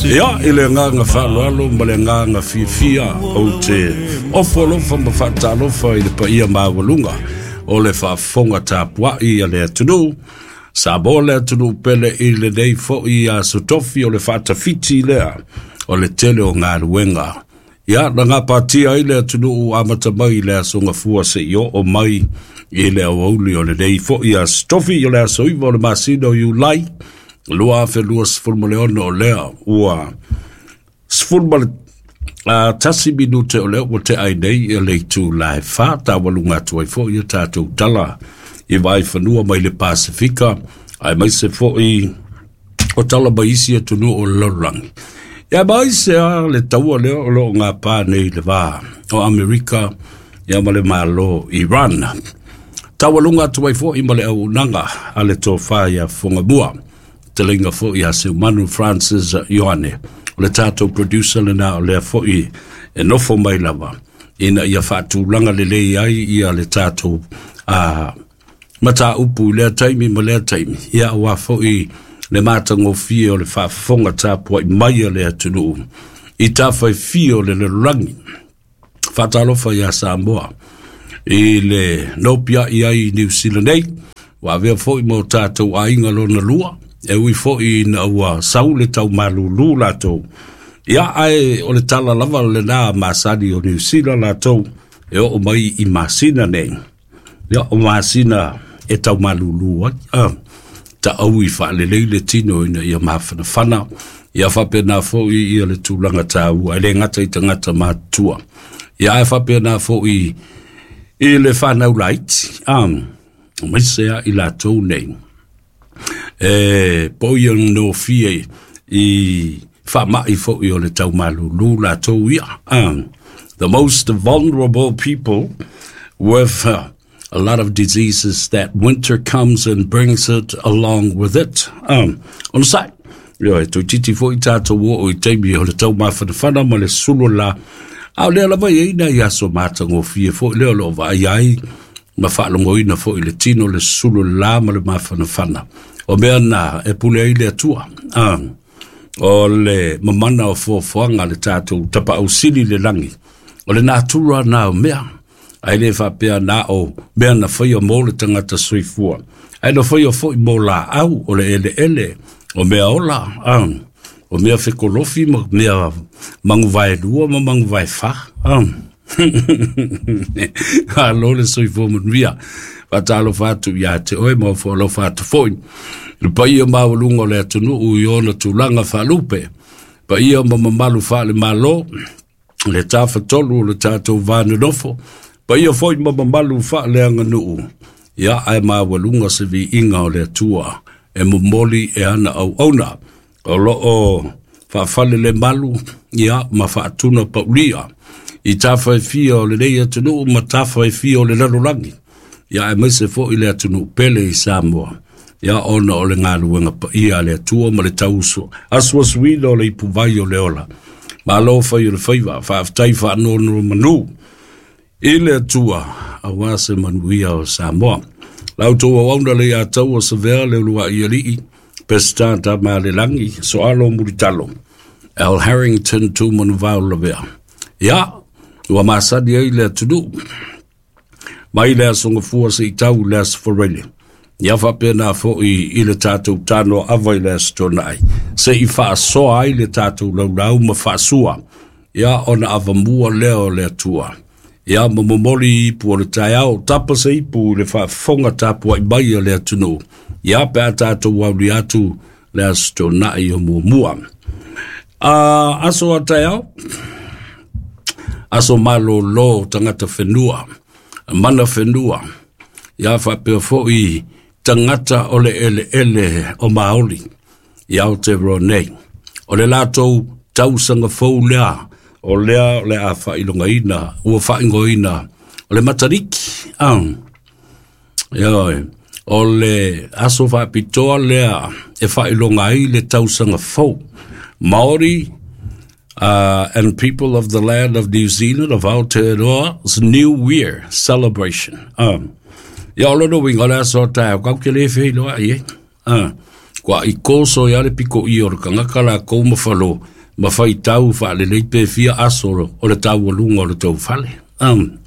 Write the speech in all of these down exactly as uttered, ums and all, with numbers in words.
Ia, i le agaga faaaloalo ma le agaga fiafia ou te ofo alofa ma faatalofa i le paia maualuga o le faafofoga tapuai a le atunuu Samoa, le atunuu pele, i lenei foi aso Tofi o le faatafiti lea o le tele o galuega. Ia, na gapatia ai le atunuu amata mai i le aso Gafua seia oo mai i le aoauli o lenei foi aso Tofi, o le aso iva o le masina o Iulai lua afe luasefulu ma le ono. O lea ua sefulu ma le uh, tasi minute o lea ua tea ai nei e le itula e fa, taualuga atu ai foi ia tatou tala i vaaifanua mai le Pasifika, aemaise foi o tala mai isi atunuu o le lalolagi. Ia mai se a le taua lea o loo gapa nei le va o Amerika ia ma le Malo Iran. Taualuga atu ai foi ma le auaunaga a le tofa ia Fogamua, fetalaiga foi ia Seumanu Francis Ioane, o le tatou producer lena, o lea foi e nofo mai lava ina ia faatulaga lelei ai ia le tatou a mataupu i lea taimi ma lea taimi, ia aua foi le matagofie o le faafofoga tapuai mai a le atunuu i tafaifia o le lalolagi. Faatalofa iā Samoa i le nopiai ai i Niu Sila nei, ua avea foi ma o tatou aiga lona lua, e ui foi ina ua sau le taumalūlū latou. Ia, ae o le tala lava lena masani o Niu Sila latou e oo mai i masina nei. Ia, o masina e taumalūlū ai. Ah, taau i faalelei le tino ina ia mafanafana, ia faapena foi ia le tulaga taua e le gata i tagata matutua. Ia, ae faapena foi i le fanau laiti. Um, aemaise a i latou nei e po ia nofie i faamai foi o le taumalūlū latou ia. Um, the most vulnerable people with uh, a lot of diseases that winter comes and brings it along with it. Um, on the side, ia, e toeitiiti foi tatou oo i taimi o le taumafanafana ma le sulu la. A o lea lava i ai nai aso matagofie foi lea o loo vaai ai ma faalogoina foi le tino le sulu la ma le mafanafana. O mea na e pule ai le Atua. Um, o le mamana o fuafuaga le tatou Tapaau Sili le lagi. O le natura na o mea. Ae le faapea na o mea na faia mo le tagata soifua. Ae na faia foi mo laau o le eleele o mea ola. Um, o mea fekolofi ma mea maguvaelua ma maguvaefa. Um. Alo le soifua manuia. Faatalofa atu ia te oe ma ofo atu foi le paia maualuga o le atunuu i ona tulaga faalupe, paia ma mamalu faale-Malo, le tafatolu o le tatou vanonofo, paia foi ma mamalu faaleaganuu. Ia, ae maualuga se viiga o le Atua e momoli e ana auauna o loo faafale le malu ia ma faatuna paulia i tafaefia o lenei atunuu ma tafaefia o le lalolagi. Ia, aemaise foi le atunuu pele i Samoa. Ia, ona o le galuega paia a le Atua ma le tauso asuasuina o le ipuvai o le ola. Malo fai o le faiva, faafetai faanonomanu i le Atua aua se manuia o Samoa. La outou auauna le iā taua Savea le uluai alii Peseta Tamalelagi Soalo Mulitalo Al Harrington Tumanuvao Lavea. Ia, ua masani ai le atunuu mai le aso Gafua seia tau le aso Faraile. Ia, faapena foi i le tatou tano ava i le aso Toonai seia faasoa ai le tatou laulau ma faasua. Ia, ona avamua lea o le Atua. Ia, ma momoli ipu o le taeao, tapa se ipu i le faafofoga tapuai mai a le atunuu. Ia, pe a tatou auli atu le aso Toonai o muamua. A aso a taeao, aso malōlō tagata whenua, mana whenua, ia faapea foi tagata o le eleele o Maoli i Aotearoa nei. O le latou tausaga fou lea, o lea o le a faailogaina, ua faaigoaina o le Matariki. Ah, ia, o le aso faapitoa lea e faailoga ai le tausaga fou. Maori uh, and people of the land of New Zealand, of Aotearoa's New Year celebration. Um, ia, o lona uiga o le aso taeao kau ke le feiloai e. Uh, kua i koso ia le piko i o le kangaka la kou ma falo Ma faitau faalelei pe fia aso o le taualuga o le tou fale. Um,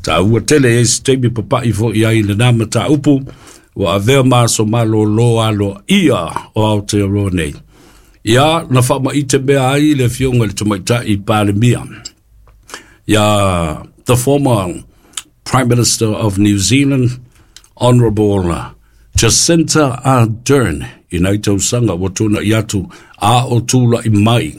taua tele e se taimi papa'i fo'i ai lenā mataupu ua avea ma aso malōlō aloaia o Aotearoa nei. Ia na faamaite mea ai le afioga i le tamaitai Palemia, ia the former Prime Minister of New Zealand, Honourable Jacinta Ardern, i nai tausaga ua tuana'i atu a o tula'i mai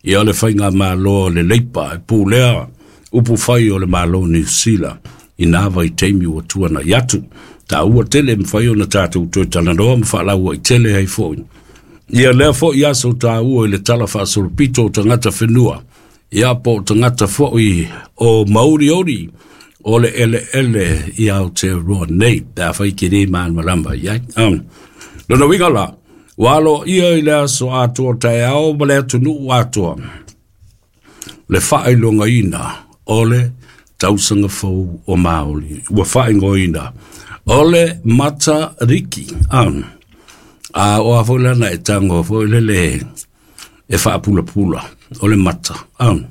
ia le faigamālo le Leipa e pulea upu fai o le Malo Niu Sila i nā vaitaimi ua tuana'i atu. Taua tele mafai ona tatou toe talanoa ma faalauaitele ai fo'i ia lea fo'i aso taua i le tala faasolopito o tagata whenua, ia po o tagata fo'i o mauriori o le eleele i Aotearoa nei, pe afai ke le malamalama i ai. Um, lona uiga la, ua aloaia i le aso atoa taeao ma le atunuu atoa le faailogaina o le tausaga fou o Māori ua faaigoaina o le Matariki. Um, a o a foi lana e tago foi lele e faapulapula o le mata. Um,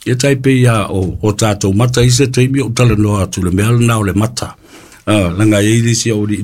ia tai pei ia o, o tātou mata i se taimi o talanoa atu le mea lena o le mata. Uh, langa e i le isi au li